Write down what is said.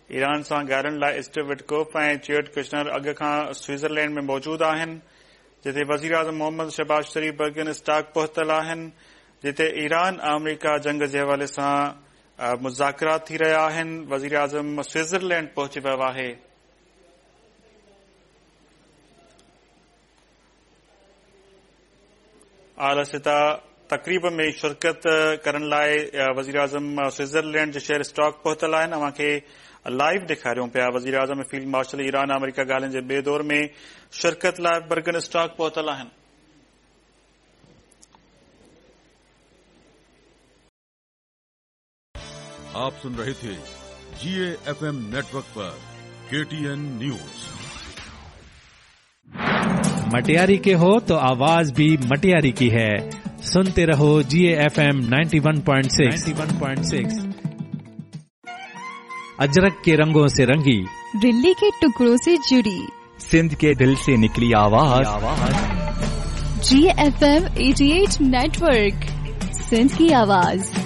Iran سان ڳالهين لاء اسٽيو وٽڪوف ۽ جيرڊ ڪشنر اڳ کان سوئٽزرلينڊ ۾ موجود آهن، جتي وزيراعظم محمد شهباز شريف برگن اسٽاڪ پهتل آهن، جتي ايران آمريڪا جنگ جي حوالي سان مذاڪرات ٿي رهيا آهن، وزيراعظم سوئٽزرلينڊ پهچي ويو آهي. اعليٰ سطح تقريب ۾ شرڪت ڪرڻ لاء وزيراعظم سوئٽزرلينڊ جي شهر اسٽاڪ پهتل آهن اوهان کي لائيو ڏيکاريون پيا وزيراعظم ۽ فيلڊ مارشل ايران آمريڪا ڳالهين جي ٻئي دور ۾ شرڪت لاء برگن اسٽاڪ پهتل آهن. آپ سن رهي ٿي جي اي ايف ايم نيٽورڪ پر ڪي ٽي اين نيوز. مٽياري ڪي هو تو آواز ڀي مٽياري ڪي هي سنتي رهو جي اي ايف ايم 91.6 91.6 اجرڪ ڪي رنگون سي رنگي دلي ڪي ٽڪڙو سي جڙي سنڌ ڪي دل سي نڪلي آواز جي ايف ايم 88 نيٽورڪ سنڌ ڪي آواز.